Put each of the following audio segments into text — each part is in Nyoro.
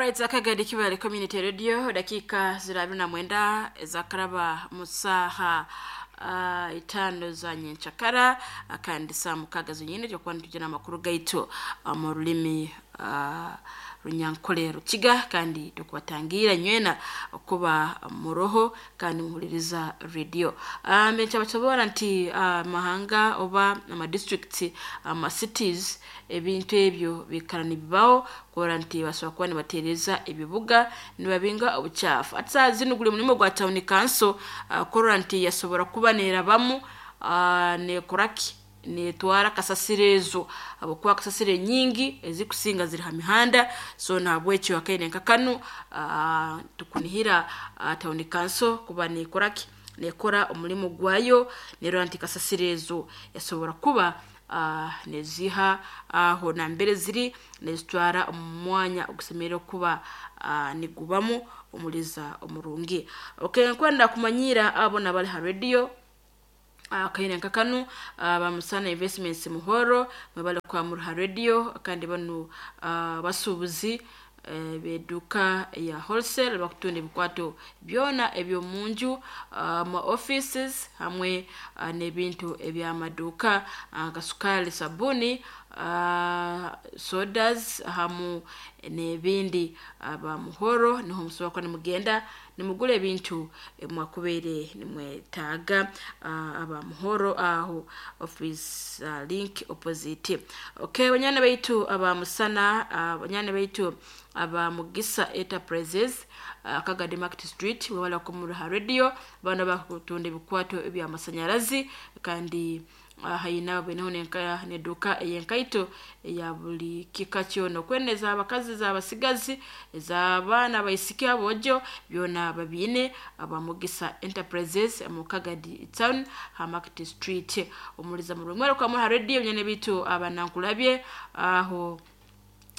Alright, akagadi Kibale Community Radio, dakika ziri 29 ezakaraba musaha 5 za nyenchakara, kandi saa 6 zonyine tyokuba nitujana amakuru gaitu mu rulimi Runyankole Rukiga, kandi tukubatangira nywena kuba muroho kandi muhuliriza radio. Nkyabakibora nti mahanga oba ama districts, ama cities, ebintu ebyo bikara nibibaho kurora nti basobora kuba nibateereza ebibuga nibabinga obucaafu. Ati saaha zinu guri mulimo gwa town council kurora nti yasobora kuba neerabamu, neekoraki, neetwara kasasiro ezo, habwokuba kasasiro enyingi ezikusinga ziri ha mihanda. So nahabwekyo akaire nka kanu tukunihira town council kuba neekoraki, neekora omulimo gwayo, neerora nti kasasiro ezo yasobora kuba neziiha aho nambere ziri, nezitwara omu mwanya ogusemeriire kuba nigubamu omuliza omurungi. Okay, nkwenda kumanyiira abo nabali ha radio akaire nka kanu, Bamusana Investments Muhoro, mwebale kuba muri ha radio, kandi banu basuubuzi b'eduuka ya wholesale bakutunda ebikwato byona eby'omunju, ma offices hamwe n'ebintu eby'amaduuka nka sukaali, sabuni, sodas hamu n'ebindi. Aba Muhoro niho musobora kuba nimugenda nimugura ebintu ebimwakubaire nimwetaaga. Aba Muhoro aho office link opposite. Okay, banywani baitu aba Musana, banywani baitu aba Mugisa Enterprises, Kagadi Market Street, mwebale kuba ha radio. Bano bakutunda ebikwato eby'amasanyarazi, kandi haina baineho n'eduuka ey'enkaito eya buli kika kyona, okwenda ez'abakazi, ez'abasigazi, ez'abaana abaisiki, aboojo, byona babiine aba Mugisa Enterprises mu Kagadi Town ha Market Street. Omuliza murungi mwebale kuba muri ha radio. Banywani baitu aba Nankulabye aho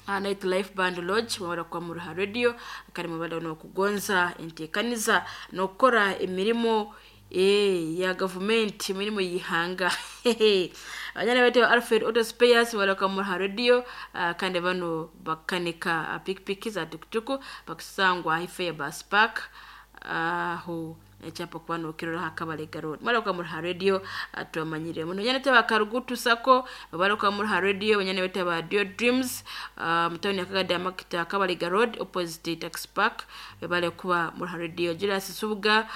Night Life Band Lodge, mwebale kuba muri ha radio, kandi mwebale n'okugonza enteekaniza n'okukora emirimo ya gavumenti, emirimo y'ihanga. Banywani baitu Alfred Auto Spares, mwebale kuba muri ha radio, kandi banu bakanika pikipiki za tukutuku, bakusangwa haife ya bus park aho ekyapa kuba nokirora ha Kabalega Road. Mwebale kuba muri ha radio, tubamanyire muno. Banywani baitu aba Karugutu Sacco, mwebale kuba muri ha radio. Banywani baitu aba Dio Dreams mu town ya Kagadi Market, Kabalega Road opposite Taxi Park, mwebale kuba muri ha radio. Julius Subuga,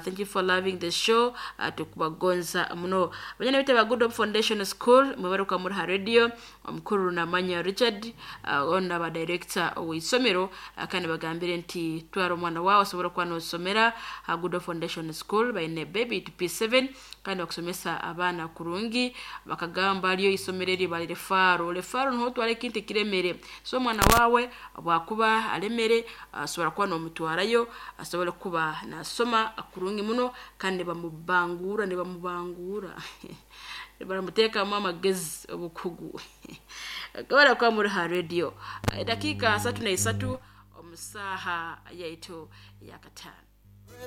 thank you for loving the show, tukubagonza muno. Banywani baitu aba Good Hope Foundation School, mwebale kuba muri ha radio. Omukuru Namanya Richard, ono aba director w'isomero, kandi bagambire nti twara omwana wawe asobora kuba nosomera ha Good Hope Foundation School, baine baby to P7, kandi bakusomesa abaana kurungi. Bakagamba ariyo isomero eri bali refaro, refaro niho otwara ekintu ekiremere, so omwana wawe bwakuba alemere asobora kuba nomutwarayo asobole kuba nasoma kurungi muno, kandi bamubangura, nibamubangura, baramuteekamu amagezi, obukugu. Kabara kuba muri ha radio, dakika 33 omu saaha yaitu ya 5.